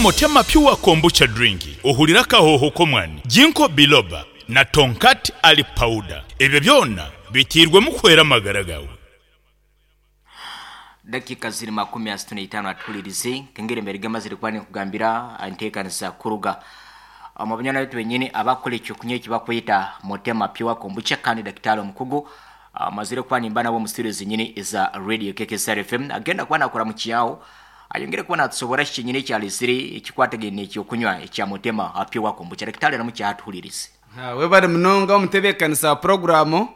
Mutema Pure Kombucha Drink, ohurire akahooho k'omwani, Ginkgo Biloba na Tongkat Ali Powder. Ebyo byona biteirwemu kuhwera amagara gaawe. Dakiika ziri 35 atuhuririze nkengeri embere gemazire kuba ninkugambira enteekanisa kuruga omu banywani baitu benyini abakukora ekyokunywa eki bakweta Mutema Pure Kombucha kandi dakitaali omukugu amazire kuba nimba nabo omu studio zenyini eza Radio KKSR FM agenda kuba nakora mukyaho ayongere kuba natusobora ki kyenyini ekyalesire ekikwatagaine n'ekyokunywa ekya Mutema Pure Kombucha. Dakitaali ramukya atuhuririze. Webare munonga omutebeekanisa wa puroguraamu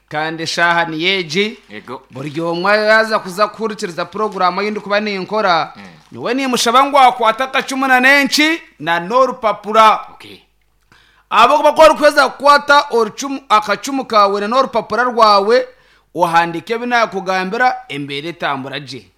kandi eshaaha niyo egi. Yego. Buri omwe yaaza kuza kuhurikiriza puroguraamu ei ndikuba ninkora, nyowe nimushaba ngu akwate akacumu na n'enki na n'orupapura. Okay. Ahabw'okuba ku orikuheza kukwata orucumu akacumu kaawe na n'orupapura rwawe, ohandiike ebi naakugambira, embeera etambura gye.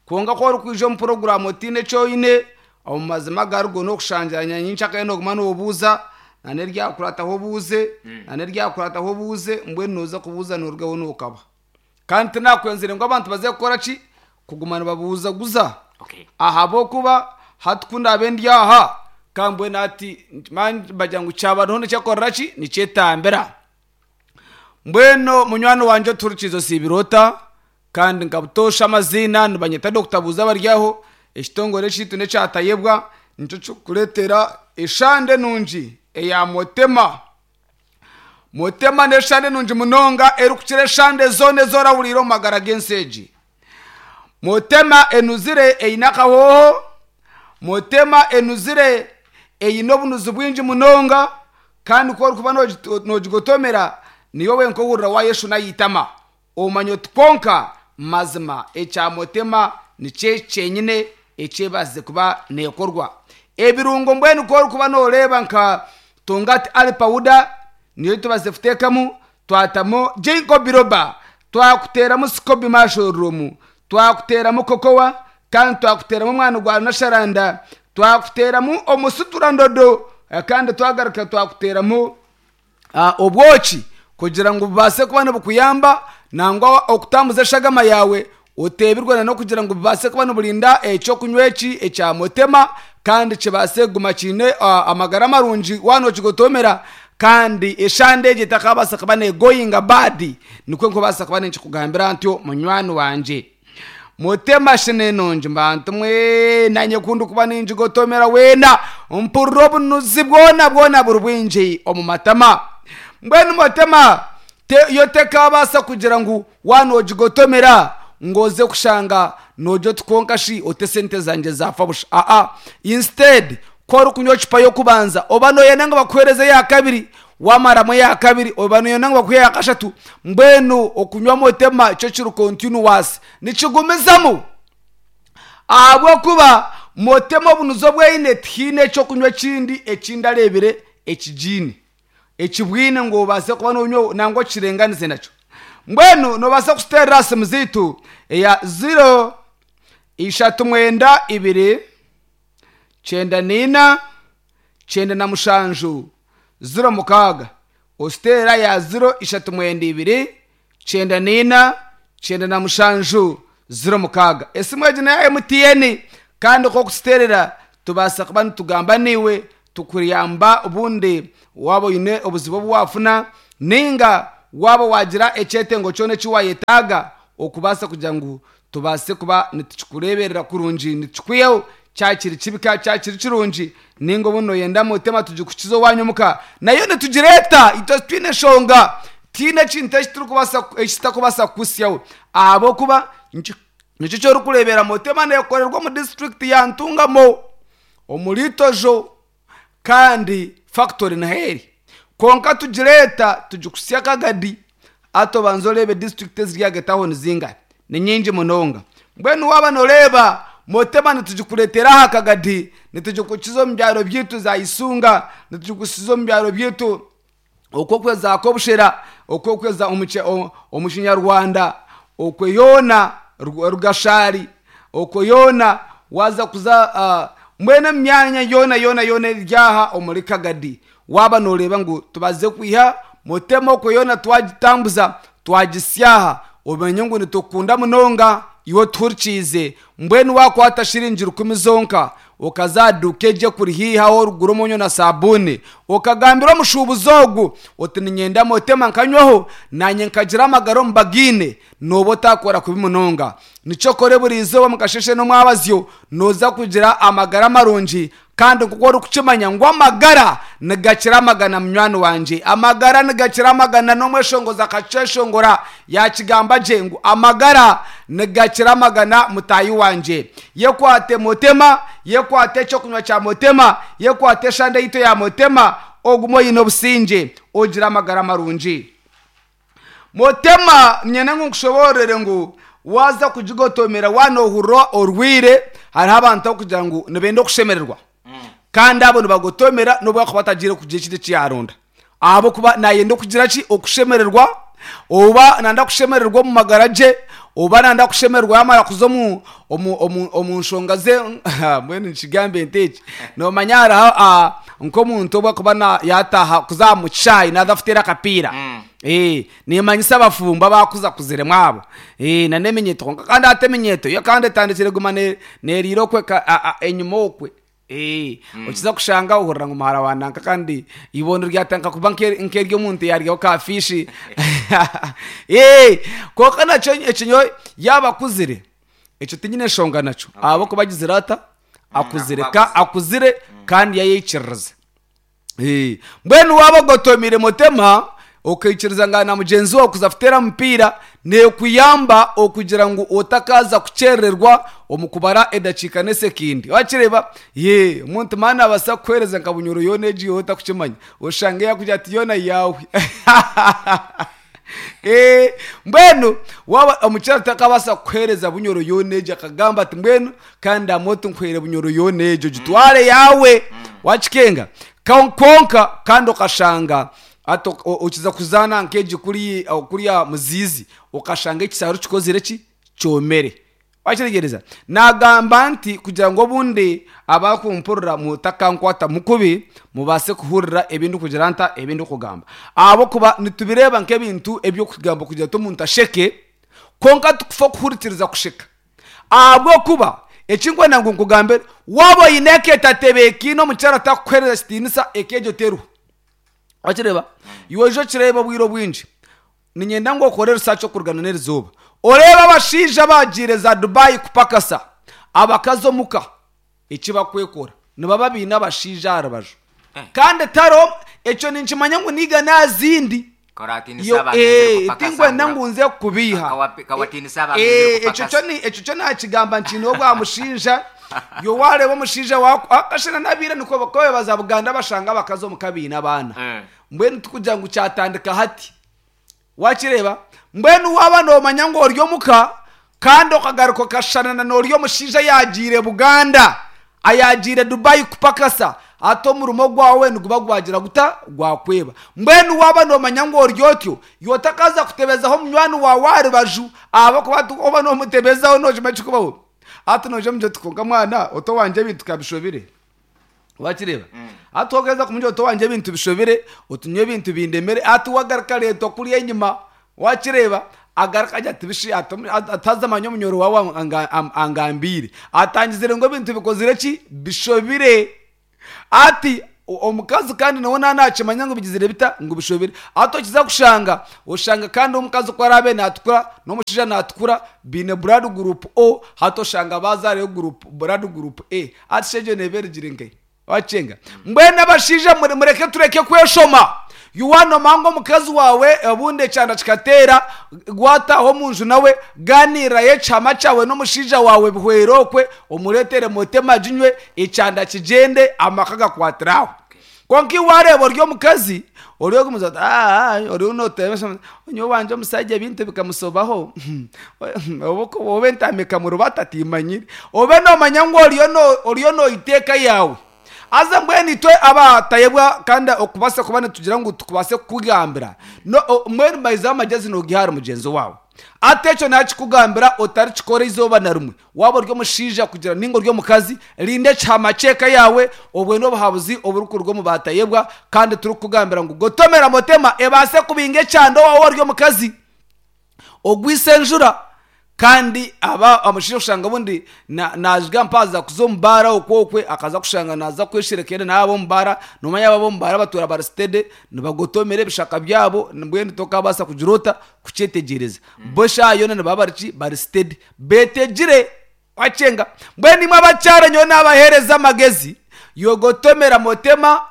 Kwonka ku orikwija omu puroguraamu otaine eki oine, omu mazima agarigo n'okushangira nyenkya nooguma noobuuza, n'eryakurataho obuuze, n'eryakurataho obuuze, mbwenu nooza kubuuza noorugaho nookaba. Kandi tinakwenzire ngu abantu baze kukora ki? Kuguma nibabuuzaguza. Ahabw'okuba hati ku ndaabe ndi aha, ka mbwenu hati bagira ngu kyaba hariho nikyekorera ki? Nikyetambira. Mbwenu munywani wangye otuhurikiize osiibire ota? Kandi nka butoosha amaziina nibanyeta Dokita Buuzabaryaho, ekitongore ekyaitu n'ekya Tayebwa nikyo kirikukureetera eshande nungi eya Motema. Motema n'eshande nungi munonga erikukira eshande zoona ezi orahuriire omu magara g'ensi egi. Motema enuzire eine akahooho, Motema enuzire eine obunuzi bwingi munonga kandi ku orikuba noogigotomera niiwe wenka ohurira waayeshuna aha itama. Omanye oti kwonka mazima ekya Motema nikyo eki kyenyine ekyebazize kuba nekorwa. Ebirungo mbwenu ku orikuba noreeba nka Tongati Ali Powder niyo tubazize kuteekamu, twatamu Ginkgo Biloba, twakuteramu Scoby Mushroom, twakuteramu Cocoa kandi twakuteramu omwani gwa Nasharanda, twakuteramu omusuturandodo kandi twagaruka twakuteramu Obwoki kugira ngu bubaase kuba nibukuyamba nangwa okutambuza eshagama yaawe oteebirwe na n'okugira ngu bubaase kuba niburinda eky'okunywa eki ekya mutema kandi kibaase kuguma kiine amagara marungi waaba nookigotomera kandi eshande egyo etakabaasa kuba neegoyinga baadi nikwo ndikubaasa kuba ninkikugambira ntyo munywani wangye. Mutema shi n'enungi mbantu mwe, nanye ku ndikuba ningigotomera weena mpurira obunuzi bwona bwona buri bwingi omu matama. Mbwenu mutema te yo tekabaasa kugira ngu waanogigotomera ngu oze kushanga noogira oti kwonka shi oti esente zangye zaafa busha. Aa, instead ku orikunywa ecupa y'okubanza oba nooyenda ngu bakuheereze eya kabiri, Wamaramu eya kabiri oba noyenda ngu bakuhe eya kashatu, mbwenu okunywa motema kyo kiri continuous, nikigumizamu ahabw'okuba motema obunuzi obu eine tihaine ekyokunywa ekindi eki ndareebire ekigiine, ekibwine ngu obaase kuba nonywa nangwa okirenganize nakyo. Mbwenu nobaasa kututeerera aha simu zaitu eya ziro ishatu mwenda ibiri 94 97 06 Ositeera ya 0 ishatu mwenda ibiri kyenda naina kyenda na mushanju 06. Esimu egi neya MTN kandi ku orikukiteerera tubaasa kuba nitugamba naiwe tukuyamba obundi waaba oine obuzibu obu waafuna nainga waaba waagira ekyetengo kyona eki waayetaaga okubaasa kugira ngu tubaase kuba nitukikureeberera kurungi nitukikwihaho kyaba kiri kibi ka kyaba kiri kirungi nainga obundi nooyenda mutema tugikukize owaanyu omuka nayo nitugireeta itwe titwine nshonga tihaine ekintu eki turikubaasa eki tutakubaasa kukuhitsyaho ahabw'okuba nikyo eki orikureebera mutema neekorerwa omu disiturikiti ya Ntungamo omuri Itojo. Kandi fakitori niho eri. Kwonka tugireeta tugikutsya akagadi hati obanze oreebe disiturikiti eziri ahagati aho nizingahi? Ni nyingi munonga. Mbwenu waaba nooreeba Motema nitugikureetera aha kagadi, nitugikukiza omu byaro byaitu za Isunga, nitugikukiza omu byaro byaitu okwo za Kobushera, okwo za omu Kinyarwanda, okwo yoona Rugashari, okwo yoona waaza kuza mbwenu omu myanya yoona yoona yoona eri aha omuri Kagadi waaba nooreeba ngu tubaasize kwiha Mutema okwo yoona twagitambuza twagisya aha omanye ngu nitukukunda munonga iwe otuhurikiize. Mbwenu waakwata shiringi rukumi zonka. Okaza aha duuka egyo ekuri haihi ahu orikugura omwonyo na saabuuni, okagambira omushuubuzi ogu oti, Niinyenda motema nkanywaho, naanye nkagira amagara omu bagaine. Nooba otaakora kubi munonga. Nikyo okore buri izooba omu kasheeshe n'omwabazyo, nooza kugira amagara marungi. Kandi nk'oku orikukimanya ngu amagara nigakira amagana munywani wangye. Amagara nigakira amagana n'omweshongozi akakyeshongora yaakigamba gye ngu amagara nigakira amagana mutaahi wangye. Yekwate motema, yekwate eky'okunywa kya motema, yekwate eshande yaitu eya motema ogume oine obusingye ogire amagara marungi. Motema niinyenda ngu nkushoboororere ngu waaza kugigotomera waaba noohurira orwaire hariho abantu abarikugira ngu nibenda okushemererwa kandi abo nibagotomera n'obu akuba atagiire kugira ekindi eki yaaronda ahabw'okuba naayenda okugira ki okushemererwa oba nayenda kushemererwa omu magara gye oba nayenda kushemererwa yaamara kuza omu omu omu omu nshonga ze mbwenu nkigambe nta eki noomanya hariho nk'omuntu obu arikuba yaataaha kuza aha mu kishaayi naaza kuteera akapiira Nimanyisa abafumbo abakuzakuziremu abo nana eminyeeto kwonka kandi hati eminyeeto yo kandi etandikire kuguma neriira okwe enyima okwe okiza kushanga ohurira ngu muhara wa nanka kandi eibondo ryatandika kuba nk'ery'omuntu yaaryaho ka fishi kwonka nakyo ekyo nyowe yaaba akuzire ekyo tinyine nshonga nakyo ahabw'okuba agizire ata akuzire akuzire kandi yayeikiririza. Mbwenu waaba ogotomeire mutema okaikiriza ngu na mugyenzi waawe kuza kuteera omupiira, neekuyamba okugira ngu otakaaza kukyerererwa omu kubara edakiika n'esekindi. Wakireeba? Yee, omuntu mani naabaasa kukuheereza nka bunyoro yoona egi iwe otakukimanya, oshange yaakugira ati yoona yaawe. Mbwenu waaba omukyara atakabaasa kukuheereza bunyoro yoona egyo akagamba ati mbwenu kandi hamwe oti nkuhaire bunyoro yoona egyo ogitware yaawe wakikenga kwonka kandi okashanga hati okiza kuzaana nk'egi kuriya muziizi okashanga ekisaaru kikozire ki kyomere. Wakyetegyereza? Naagamba nti, Kugira ngu obundi abarikumpurira mutakankwatamu kubi, mubaase kuhurira ebi ndikugira nta, ebi ndikugamba. Ahabw'okuba nitubireeba nk'ebintu eby'okugamba kugira nti omuntu asheke, kwonka tikufa kuhurikiriza kusheka. Ahabw'okuba eki ndikwenda ngu nkugambire, waaba oine eka etatebeekaine omukyara atakukuheereza kitiinisa, eka egyo teriho. Wakireeba? Iwe oije okireebe obwire obwingi. Niinyenda ngu okore research okurugana n'erizooba oreebe abashaija abaagiire za Dubai kupakasa abakazi omuka eki bakwekora. Nibaba baine abashaija aha rubaju kandi tihariho ekyo ninkimanya ngu niiga aha zindi Koratiinisa Yo, abagenzire eh, kupakasa tinkwenda ngu ngu nze kukubiiha. Kawatiinisa abagenzire Eh, ekyo kupakasa. kyo ni- ekyo kyo nakigamba nkiine obwamushinja yo wareeba omushaija waku akashana n'abaire nikwo baza Buganda bashanga abakazi omuka baine abaana Mbwenu tikugira ngu kyatandika hati. Wakireeba? Mbwenu waaba noomanya ngu ori omuka kandi okagaruka okashushana na n'ori omushaija ayaagiire Buganda, ayaagiire Dubai kupakasa, hati omurimo gwawe niguba gwagira guta? Gwakweba. Mbwenu waaba noomanya ngu ori otyo, iwe otakaaza kutebezaho munywani waawe aha rubaju ahabw'okuba hati waaba noomutebezaho nookimanya ekirikubaho? Hati noija omugira oti kwonka mwana oti owangye ebintu ka bishobire. Wakireeba? Hati waageza kumugira oti owangye ebintu bishobire, oti nyowe ebintu bindemire, hati we agaruka areetwa kuriya enyima, wakireeba? Agaruka agira ati bishi ati ati haza manya omunyoro waawe angambiire, atangizire ngu ebintu bikozire ki? Bishobire. Hati omukazi kandi nawe naaba nakimanya ngu bigizire bita? Ngu bishobire. Hati okiza kushanga, oshanga kandi omukazi ku araabe naatukura n'omushaija naatukura, baine blood group O, hati oshanga baazaarayo group blood group A. Hati shi egyo neeba erugire nkahi? Wakyenga? Mbwenu abashaija muri mureke tureke kweshoma. You waanoma ngu omukazi waawe obundi ekyanda kikateera, waataaha omu nju nawe, gaaniirayo ekihama kyawe n'omushaija waawe bihwere okwe, omureetere mutema ginywe, ekyanda kigyende, amaka gakwatire aho. Kwonka iwe waareeba ori omukazi, ori ogumize oti aah ori nooteeba nyowe owangye omushaija ebintu bikamusobaho, oba entaama ekamurubata timmanyire. Obe noomanya ngu oriyo oriyo noita eka yaawe. Haza mbwenu itwe abatayebwa kandi okubaasa kuba nitugira ngu tukubaase kukugambira, mbwenu maizi amagyezi noogiha ahari mugyenzi waawe. Hati ekyo naakikugambira otarikikora eizooba na rimwe. Waaba ori omushaija kugira nainga ori omukazi, rinda ekihama ky'eka yaawe obwe n'obuhabuzi oburikuruga omu baatayebwa kandi turikukugambira ngu gotomera motema ebaase kubinga ekyanda owaawe ori omukazi ogwise enjura. Kandi aba omushaija kushanga obundi najuga mpaha aza kuza omu baara okwo okwe akaza kushanga naza kwesherekera naaba omu baara nomanya abo ab'omu baara batuura bari steady nibagotomera ebishaka byabo mbwenu tokabaasa kugira ota kukyetegyereza. Bo eshaaha yoona nibaba bari ki bari steady betegire wakyenga. Mbwenu imwe abakyara nyowe nabaheereza amagezi yogotomera motema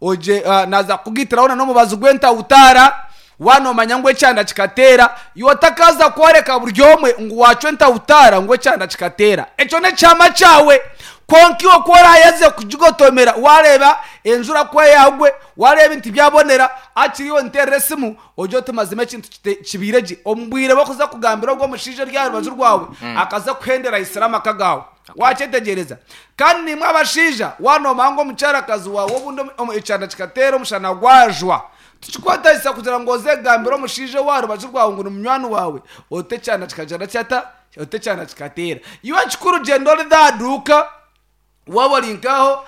ogye naza kukugaitiraho na n'omubazi gw'entawutaara Waaba noomanya ngu ekyanda kikateera, iwe otakaaza kworeka buri omwe ngu waacwa entawutaara ngu ekyanda kikateera. Ekyo n'ekyama kyawe. Kwonka iwe ku oraaheze kugigotomera, waareeba enjura ku eyaagwe, waareeba ebintu byabonera, hakiri iwe nteerera esimu ogire oti mazima ekintu kibaire gye. Omu bwire bw'okuza kugambira ogwo mushaija ori aha rubaju rwawe, akaza kuhendera aitsire amaka gaawe. Waakyetegyereza? Kandi naimwe abashaija, waaba noomanya ngu omukyarakazi waawe obundi ekyanda kikateera omushana gwajwa, Tikikwetagisa kugira ngu oze kugambira omushaija ow'aha rubaju rwawe ngu ni munywani waawe, oti ekyanda kikagira kyata, oti ekyanda kikateera. Iwe ekikuru gyenda ori aha duuka, waaba ori nk'aho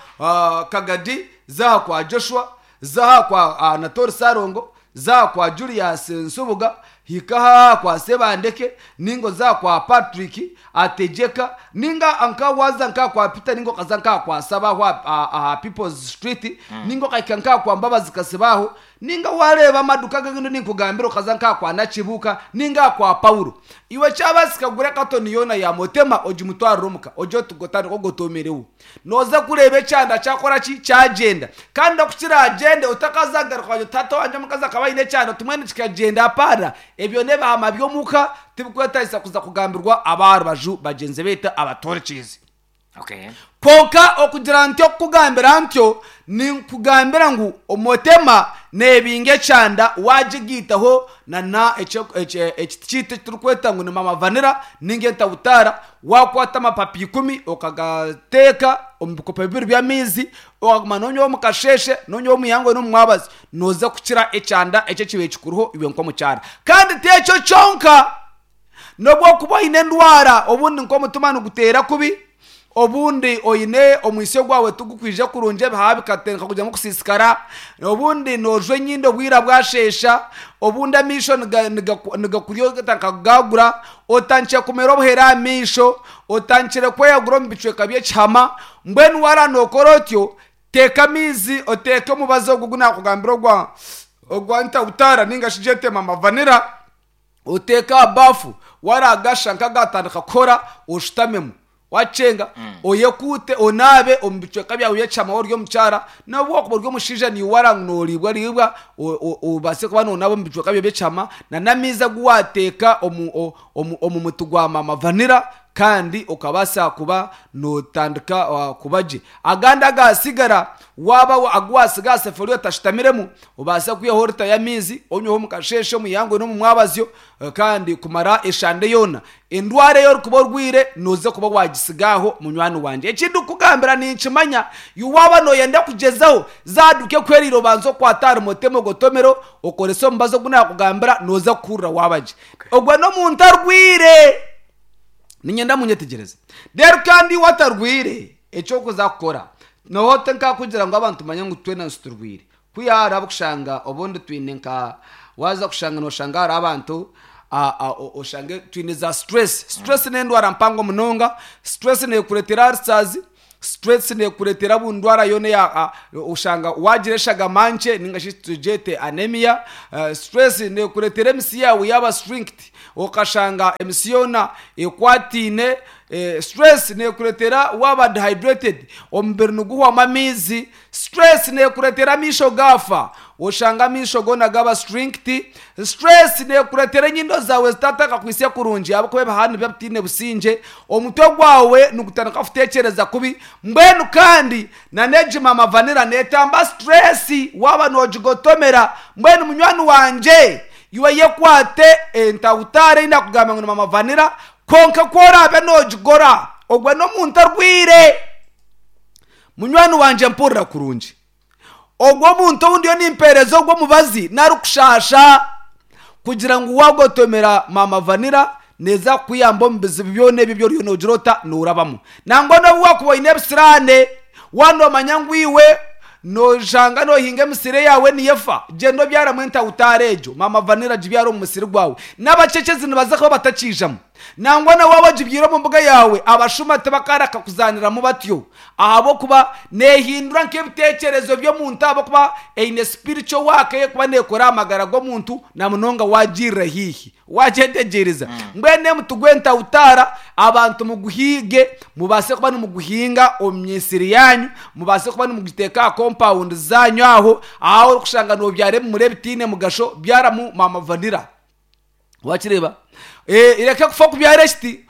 Kagadi, za aha kwa Joshua, za aha kwa Anatoli Ssalongo, za aha kwa Julius Nsubuga, hika aha kwa Ssebandeke, nainga oze aha kwa Patrick Ategyeka, Ninga nka waza nka kwa Peter ninga okaza nka kwa Saba aho aha People's Street ninga okahika nka kwa Mbabazi Kasiba aho ninga wareeba amaduka ago agu ninkugambira okaza nka kwa Nakibuuka ninga aha kwa Paulo iwe kyabaasika gura ekatoni yoona ya Motema ogimutwarire omuka ogye otandike ogotomereho Nooza kureeba ekyanda kyakora ki? Kyagyenda. Kandi n'oku kiragyende otakaza kugaruka wagira oti taata wangye omukazi akaba aine ekyanda oti mbwenu kikagyenda apaana. Ebyo n'ebihama by'omuka tibikwetagisa kuza kugambirwa ab'aha rubaju bagyenzi baitu abatorekyeize. Okay. Kwonka okugira ntyo kukugambira ntyo, ninkugambira ngu omotema neebinga ekyanda waagigaitaho na na ekiti kyaitu eki turikweta ngu ni mama vanilla ninga entawutaara, Waakwata amapapa ikumi okagateeka omu bikopo bibiri by'amaizi, okaguma noonywa omu kasheeshe, noonywa omu ihangwe n'omu mwabazyo, nooza kukira ekyanda eki ekibaire kikuriho iwe nk'omukyara. Kandi ti ekyo kyonka, n'obu okuba oine endwara, obundi nk'omutima niguteera kubi, obundi oine omwitsyo gwawe tigukwija kurungi ebihaha bikatandika kugiramu kusiisikara, obundi noojwa enyindo obwira bwasheesha, obundi amaisho nigakurya ogatandika kugagura, Otandikire kumera obuhere aha maisho, otandikire kweyagura omu bicweka by'ekihama, mbwenu waaba nookora otyo, teeka amaizi oteeke omubazi ogu ogu naakugambira ogwa ogwa ntabutaara nainga shi gyete mama vanilla, oteeke aha baafu, waaragasha nk'agaatandika kuhora, oshutamemu. Wakyenga, oyekuute, onaabe omu bicweka byawe by'ekihama waaba ori omukyara, n'obu wakuba ori omushaija naiwe waaba ngu nooriibwariibwa, obaase kuba noonaaba omu bicweka byawe by'ekihama, n'amaizi agu waateeka omu muti gwa maama vanilla kandi okabaasa kuba nootandika kuba gye. Agandi agaatsigara, waaba agu waatsiga aha sefuriya otashutamiremu, obaase kwihaho rita y'amaizi onyweho omu kasheeshe, omu ihangwe n'omu mwabazyo kandi kumara eshande yoona. Endwara ei orikuba orwaire nooza kuba waagitsiga aho munywani wangye. Eki ndikukugambira ninkimanya, iwe waaba nooyenda kugyezaho, zaaduka ekuhereire obanze okwate ahari motema ogotomere okorese omubazi ogu naakugambira, nooza kuhurira waaba gye. Ogwo n'omuntu arwaire. Niinyenda munyetegyereze. Reero kandi iwe otarwaire, eki orikuza kukora, nooba oti nkakugira ngu abantu manya ngu twena nituturwaire. Kwiha hariho abukushanga obundi twine nka waaza kushanga nooshanga hariho abantu oshange twine za stress. Stress n'endwara mpango munonga, stress neekureetera ulcers, stress neekureetera buri ndwara yoona eya oshanga waagira eshagama nkye ninga shi tugyete anemia, stress neekureetera emisi yaawe yaaba shrinked okashanga emisi yoona ekwataine, stress neekureetera waaba dehydrated omubiri niguhwamu amaizi. Stress nekuretera amaisho gaafa, oshanga amaisho goona gaba shrinked. Stress nekuretera enyindo zaawe zitatandika kuhitsya kurungi ahabw'okuba ebihaha nibiba bitaine busingye, omutwe gwawe nigutandika kutekyereza kubi. Mbwenu kandi nan'egi mama vanilla netamba stress waaba nogigotomera. Mbwenu munywani wangye iwe yekwate entahutaara ei ndakugamba ngu ni mama vanilla kwonka ku oraabe nogigora ogwe n'omuntu arwaire. Munywani wangye mpurira kurungi. Ogwo omuntu ou ndiyo nimpeereza ogwo omubazi narikushaasha kugira ngu waagotomera maama Vanilla neeza kukuyamba omu bizibu byona ebi ebi oriyo noogira ota noorabamu. Nangwa n'obu waakuba oine ebisiraane, waaba noomanya ngu iwe nooshanga noohinga emisiri eyaawe niyo efa, gyenda obyaremu entawutaara egyo, maama Vanilla gibyare omu musiri gwawe. N'abakyekyeezi nibaza kuba batakiijamu. Nangwa na waaba ogibyire omu mbuga yaawe, abashuma tibakaareka kuzaaniramu batyo, ahabw'okuba neehindura nk'ebiteekyerezo by'omuntu ahabw'okuba eine spiritual work ei erikuba neekora aha magara g'omuntu na munonga waagiirira haihi. Waagyetegyereza? Mbwenu omuti gw'entawutaara abantu muguhiige, mubaase kuba nimuguhinga omu misiri yaanyu, mubaase kuba nimugiteeka aha kompawundi zaanyu aho, ahu orikushanga noobyara ebimuri ebitaine mugasho, byaramu maama vanilla. Wakireeba? Eh, reka kufa kubyara ekiti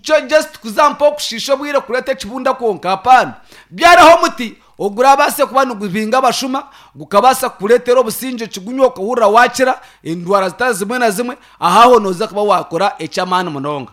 kyo just kuza mpa okushiisha obwire kureeta ekibunda kwonka hapana. Byaraho omuti ogurabaase kuba nigubinga abashuma, gukabaasa kukureetera obusingye kigunywa okahurira waakira endwara zitari zimwe na zimwe, aho aho nooza kuba waakora eky'amaani munonga.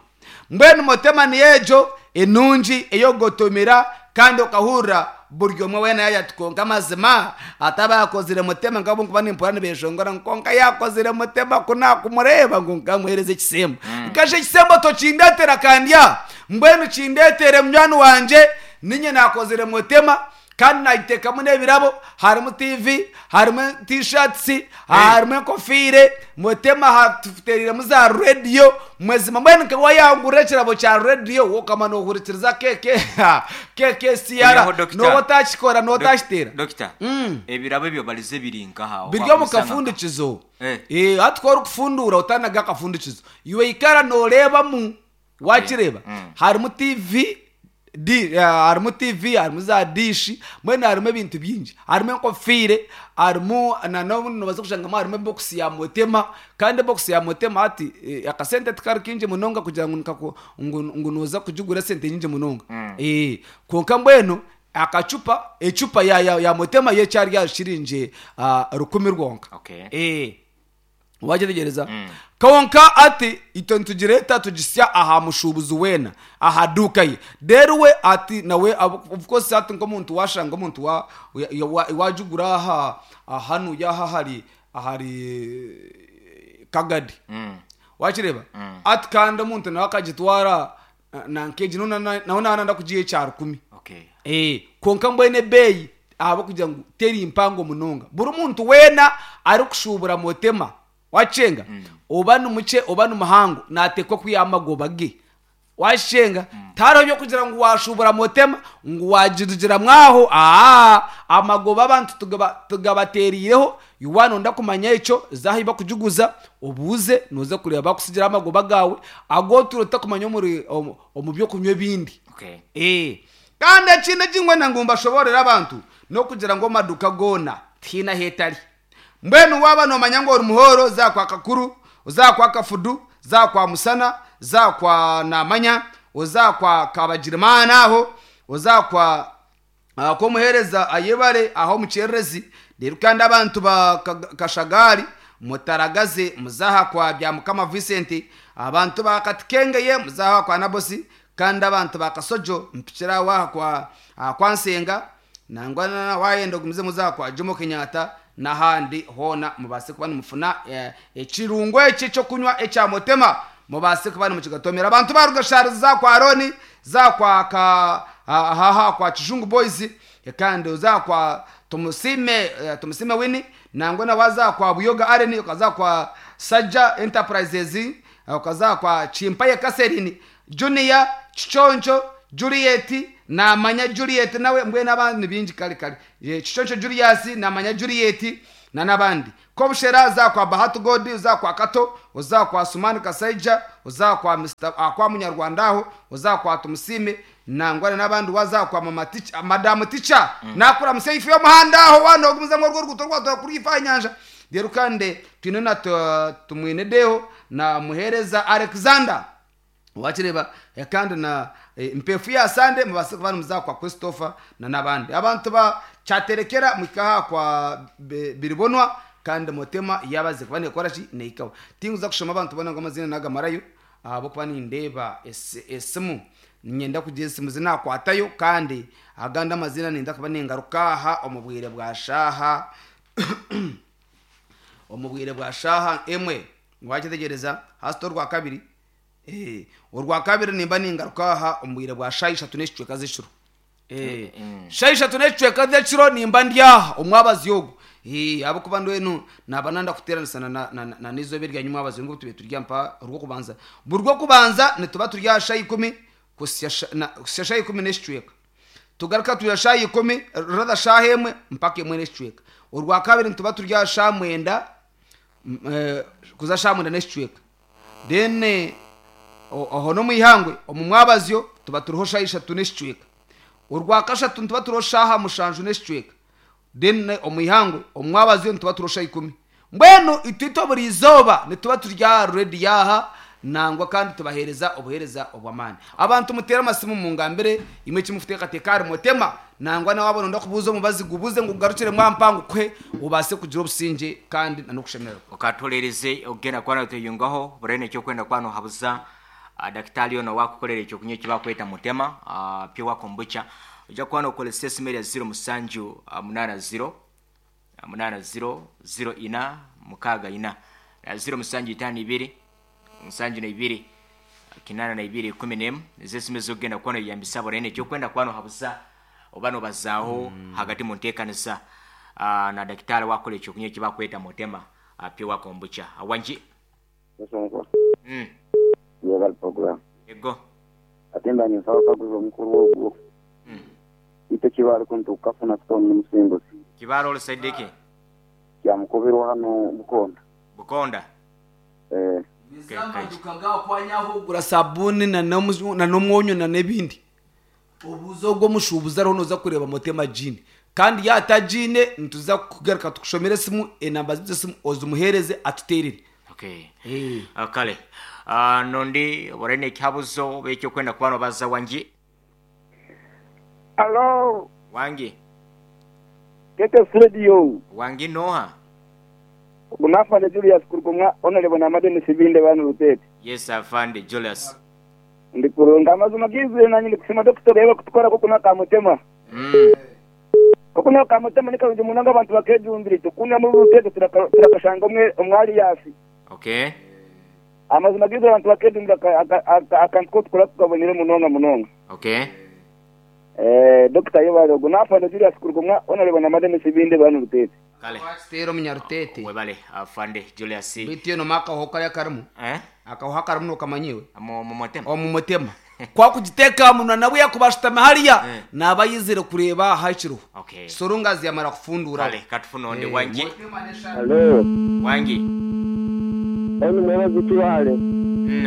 Mbwenu motema niyo egyo enungi ey'okugotomera kandi okahurira buri omwe weena yaagira ati kwonka amazima ati abaakozire mutema nka abu nkuba nimpurira nibeshongora ngu kwonka yaakozire mutema ku naakumureeba ngu nkamuheereza ekisembo. Nkashi ekisembo tokindeetera kandya? Mbwenu kindeetere munywani wangye niinye naakozire mutema Kandi naagiteekamu n'ebirabo, harimu tiivi, harimu tishatisi, harimu enkofiire, mutema hatuteereiremu za rediyo, mazima mbwenu nka waayangurira ekirabo kya rediyo okaba noohurikiriza KK KKCR Oiheho dokita. nooba otaakikora nooba otaakiteera. Dokita, ebirabo ebyo barize biri nkaha? Biri omu Wakubisaanga nkaha? kafundikizo. Eh. Eh, hati ku orikufunduura otanaga akafundikizo, iwe ikara nooreebamu. Wakireeba? Harimu TV, di, harimu TV, harimu za diishi, mbwenu harimu ebintu bingi. Harimu enkofiire, harimu na n'obundi noobaasa kushangamu harimu ebokisi ya motema, kandi ebokisi ya motema hati akasente tikari kaingi munonga kugira ngu nikaku ngu ngu nooza kugigura esente nyingi munonga. Kwonka mbwenu akacupa, ecupa ya ya ya motema yo ekyari aha shiringi rukumi rwonka. Okay. Wagyetegyereza? Kwonka ati itwe nitugireeta tugisya aha mushuubuzi weena, aha duuka ye. Reero we ati nawe of course hati nk'omuntu waashanga omuntu wa- wa- waagigura aha hanuya aha ahari ahari Kagadi. Wakireeba? Ati kandi omuntu nawe akagitwara nanka egi nawe naaba nayenda kugiha ekya rukumi. Okay. Eh, kwonka mbwenu ebeeyi ahabw'okugira ngu teri mpango munonga. Buri muntu weena arikushuubura motema, wakyenga, oba ni mukye oba ni muhango, naateekwa kwihaho amagoba ge. Wakyenga, tihariho eby'okugira ngu waashuubura motema ngu waagirugiramu aho, aa, amagoba abantu tugabateereireho, iwe waaba nooyenda kumanya ekyo, za ahu barikugiguza obuuze, nooza kureeba bakutsigireho amagoba gaawe agu otuura otakumanya omuri omu by'okunywa ebindi. Okay. Eh. Kandi ekindi eki nkwenda ngu mbashoboorore abantu n'okugira ngu amaduuka goona tihaine ahu etari. Mbwenu waaba noomanya ngu ori muhooro, za kwa Kakuru, oza kwa Kafudu, za kwa Musana, za kwa Naamanya, oza kwa Kabagirimana aho, oza kwa kw'omuheereza Ayebare aho omu Kyererezi, reero kandi abantu ba Kashagaari mutaragaze muze aha kwa Byamukama Vincent, abantu ba Katikengeye muze aha kwa Nabosi, Kandi abantu ba Kasojo mpikire aho aha kwa aha kwa Nsenga, nangwa na wayenda ogumizemu oze aha kwa Jomo Kenyatta n'ahandi hoona mubaase kuba nimufuna ekirungo eki eky'okunywa ekya Motema mubaase kuba nimukigatomera. Abantu ba Rugashari za kwa Arooni, za kwa ka aha aha kwa Kijungu Boys kandi oze aha kwa Tumusiime Tumusiime Winnie nangwa na waza aha kwa Buyoga Allen okaza aha kwa Sajja Enterprises okaza aha kwa Chimpaye Catherine Junior, Kiconco, Juliet, naamanya Juliet nawe mbwenu abandi ni baingi kare kare. Kiconco Julius, naamanya Juliet na n'abandi. Kobushera oza kwa Bahati God, oza kwa Kato, oza kwa Sumani Kasaija, oza kwa Mister kwa Munyarwanda aho, oza kwa Tumusiime nangwa na n'abandi waza kwa mama Teacher, Madamu Teacher naakuramutsya ahaifo y'omuhanda aho waaba noogumizamu orwo oruguuto rwatwara kuriya ifo aha nyanja. Reero kandi twine na Tumwine Deo na Muheereza Alexander. Wakireeba? Kandi na mpefu ya Sande mubaase kuba nimuza kwa Christopher na n'abandi. Abantu ba Kyaterekera muhike aha kwa Biribonwa kandi Motema yaabaze kuba neekora ki? Neehikaho. Tinkuza kushoma abantu boona ngu amaziina naagamarayo ahabw'okuba nindeeba esimu. Niinyenda kugira esimu zi naakwatayo kandi agandi amaziina niinza kuba ningaruka aha omu bwire bwa shaaha omu bwire bwa shaaha emwe. Wakyetegyereza? Haza ti orwakabiri. Eh, orwakabiri nimba ningaruka aha omu bwire bwa shaaha ishatu n'ekicweka z'ekiro. Eh, shaaha ishatu n'ekicweka z'ekiro nimba ndi aha omwabazyo ogwo. Ii, ahabw'okuba mbwenu naaba nanda kuteeranisa na, na, na, na n'eizooba erya nyimwabazyo nibwo tube turi mpa Orwokubanza. Buri Rwokubanza nituba turi aha shaaha ikumi kuhitsya sha- na- kuhitsya shaaha ikumi n'ekicweka. Tugaruka twija shaaha ikumi, rather shaaha emwe mpaka emwe n'ekicweka. Orwakabiri nituba turi aha shaaha mwenda mm, eh, kuza shaaha mwenda n'ekicweka. Then eh, o- aho n'omu ihangwe omu mwabazyo tuba turiho shaaha ishatu n'ekicweka. Orwakashatu nituba turiho shaaha mushanju n'ekicweka. Then omu ihangwe omu mwabazyo nituba turiho shaaha ikumi. Mbwenu itwe itwe buri izooba nituba turi aha rediyo aha nangwa kandi tubaheereza obuheereza obw'amaani. Abantu muteere amasimu mungambire imwe eki murikuteekateeka ahari Mutema. Nangwa na waaba nooyenda kubuuza omubazi gubuuze ngu gugarukiremu aha mpa ngukuhe obaase kugira obusingye kandi n'okushemererwa. Okatuhuririze okugenda kuba notweyungaho buri eki orikwenda kuba nohabuza Daktari onu owakukorera ekyokunywa eki bakweta Mutema Pure Kombucha oija kuba nokoresa esimu erya ziro musanju munaana ziro munaana ziro ziro ina mukaaga ina na ziro musanju itaano ibiri musanju na ibiri kinaana na ibiri ikumi n'emwe nizo esimu ez'okugenda kuba noyeyambisa buri eki orikwenda kuba nohabuza oba nobazaaho hagati mu nteekanisa na dakitaari owakukora ekyokunywa eki bakweta Mutema Pure Kombucha. Wangi. Musungwa. Yebale program. Ego. Ate mba ninsaba kaguza omukuru ogwo. Itwe Kibaale kunu tukukafuna tuta omu Musinguzi. Kibaale ori side ki? Kyamukobirwa hanu Bukonda. Bukonda? Eh. Niza amaduka gakwanya ahu ogura sabuuni na n'omwonyo na n'ebindi. Obuuze ogwo omushuubuzi ariho nooza kureeba Mutema agiine. Kandi yaaba atagiine nituza kugaruka tukushomere esimu, enamba zaitu z'esimu ozimuheereze atuteerere. Okay. Ah, kale. Ah, nondi oba n'ekihabuzo oba eky'okwenda kuba nobaza wangi. Alo, Wangi. KKS Radio. Wangi n'oha? Ogu n'Afande Julius kuruga omwa Honourable Namadeni Sibinde Banu Luteete. Yes, Afande Julius. Ndi kurungi. Amazima gaizwire nanye ndi kusiima Dokita Oreebe kutukora kokunywa ka Mutema. Kokunywa ka Mutema ni karungi munonga abantu bakejumbira itwe kunywa muri Luteete turakashanga omwe omw'Alias. Okay. Amazima gaizwire abantu bakejumbira akantu kotukora tukabonire munonga munonga. Okay. Eeh Dokita yebare ogu n'Afande Julius kuruga omwa Honourable Namadeni Sibinde Banu Luteete. Kale. Wakiteera omunyarutete. Webale Afande Julius. Beitu yoona akahoho kariya karimu. Eh? Akahoho akarimu nokamanya iwe? Omu mutema. Omu mutema. Ku akugiteeka aha munwa nawe yakuba ashutami hariya, Eh. naaba aizire kureeba aha ekiriho. Okay. Sorungazi yamara kufunduuraho. Kale katufune ondi wangi. Halo, Wangi. onu mwebazi Kibaale.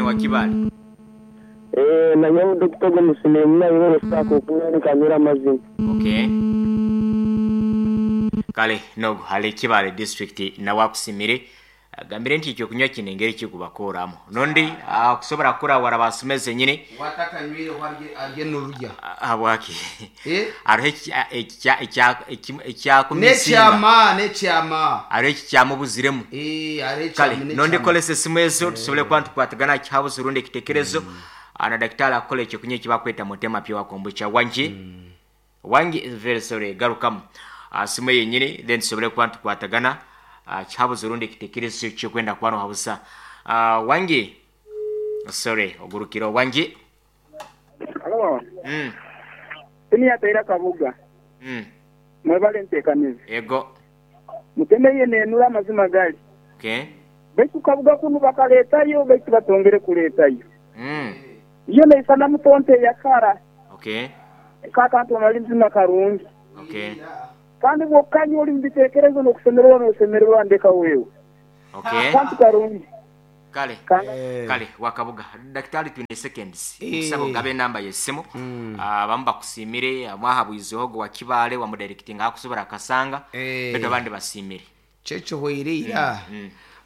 Wa Kibaale. Eh, nanye omudokita ogwo musimire muno ayebare sitaaka okunywa nikanywera amazima. Okay. Kale nogu hali Kibaale district nawe akusimire agambire nti ekyokunywa kino engeri kikubakoramu nondi akusobora kukora wara basome zenyini Watakanywire arye n'orurya. Habwaki Eh? hariho ekyakumisinga N'ekyama, n'ekyama. hariho ekikyamubuziremu. Eh, hariho Kale ekyama, nondi n'ekyama. kolesa esimu ezo tusobole kuba nitukwatagana kihabuzi rundi ekitekerezo na daktari akukora ekyokunywa ekibakweta Mutema Pure Kombucha. Wangi wangi very sorry garukamu simu yenyini then tusobole kuba nitukwatagana kihabuzi rundi ekitekerezo kyokwenda kuba nohabuza wangi sorry ogurukiro wangi. Halo. Tini yateira Kabuga. Mwebale ntekanize. Ego. Muteme ye nenura amazima gali. Okay. Baitu Kabuga kunu bakaletayo baitu batongere kuletayo. Iyo neisana mutonte yakara. Okay. Kakantu nali mzima karungi. Okay. Kandi bwokanya oli mubitekerezo n'okusemererwa n'osemererwa ndeka wewe. Okay. Kantu karungi. Kale. Kale wakabuga daktari twine seconds. Nkusaba ogabe enamba y'esimu. Abamu bakusiimire mwahabwizeho gwe wa Kibaale wamudirectinga akusobora akasanga. Baitu abandi basiimire. Kyekihweire ira.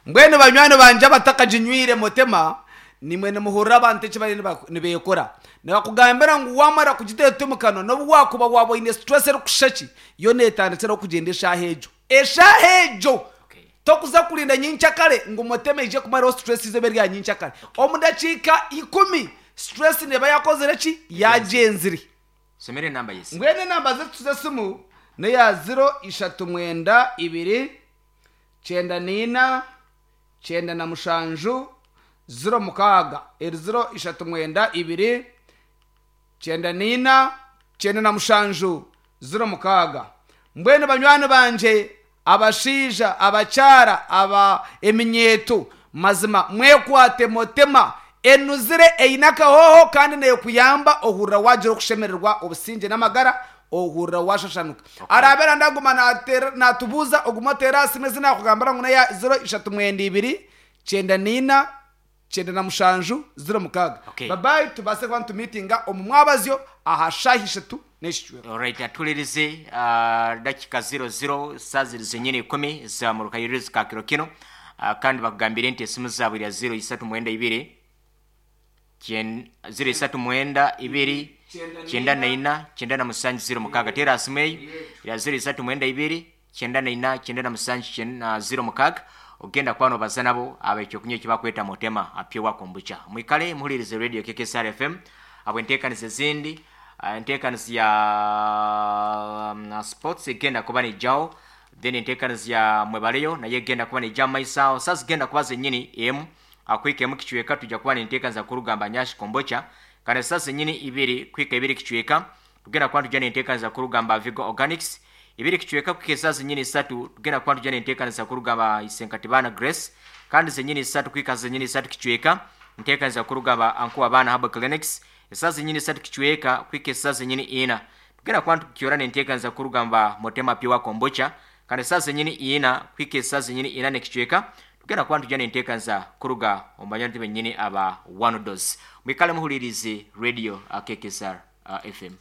Mbwenu banywani bangye abatakaginywire Mutema, nimwe nimuhurira abantu eki bariyo nibeekora. Nibakugambira ngu waamara kugiteeta omu kanwa n'obu waakuba waaba oine stress erikushusha ki, yo neetandikiraho kugyenda eshaaha egyo. Eshaaha egyo! Tokuza kurinda nyenkyakare ngu Mutema eije kumaraho stress eizooba erya nyenkyakare. Omu dakiika ikumi, stress neeba yaakozire ki? Yaagyenzire. Somera enamba y'esimu. Mbwenu enamba zaitu z'esimu n'eya ziro ishatu mwenda ibiri kyenda n'ina kyenda na mushanju ziro mukaaga. Eri ziro ishatu mwenda ibiri kyenda n'ina kyenda na mushanju ziro mukaaga. Mbwenu banywani bangye. Abashaija, abakyara, aba eminyeeto, mazima mwekwate motema enuzire eine akahooho kandi neekuyamba ohurira waagira okushemererwa, obusingye n'amagara, ohurira waashashanuka. Araabe arenda aguma naateera naatubuuza ogume oteere aha simu ezi naakugambira ngu n'eya ziro ishatu mwenda ibiri kyenda naina 97 06. Okay. Babayi tubaase kuba nitumiitinga omu mwabazyo aha shaaha ishatu n'ekicweka. Alright, atuhulirize dakika 00 saa ziri zenyini ikumi za mu rukayiririzi ka kiro kino kandi bakugambire nti esimu zaabo erya 032 032 94 97 06 teera aha simu eyo ya 032 94 97 06 Ogenda kuba nobaza nabo aba ekyokunywa eki bakweta Motema Pure Kombucha. Mwikale muhulirize Radio KKSR FM habw'enteekaniza ezindi. Enteekaniza ya sports egenda kuba neijaho, then enteekaniza ya Mwebaleyo nayo egenda kuba neija omu maiso aho. Saaha zigenda kuba zenyini emu kuhika emu kicweka twija kuba nenteekaniza kuruga Nyashi Kombucha, kandi saaha zenyini ibiri kuhika ibiri kicweka tugenda kuba nitwija nenteekaniza kuruga Vigo Organics. Ibiri kicweka kuhika esaaha zenyini isatu tugenda kuba nitwija nenteekaniza kuruga ba Isenkatibana Grace, kandi zenyini isatu kuhika zenyini isatu kicweka nteekaniza kuruga ba Anko Abaana Herbal Clinics. Esaaha zenyini isatu kicweka kuhika esaaha zenyini ina tugenda kuba nitukyora nenteekaniza kuruga ba Motema Pure Kombucha, kandi esaaha zenyini ina kuhika esaaha zenyini ina n'ekicweka tugenda kuba nitwija nenteekaniza kuruga omu banywani benyini aba One Dose. Mwikale muhulirize Radio KKSR FM.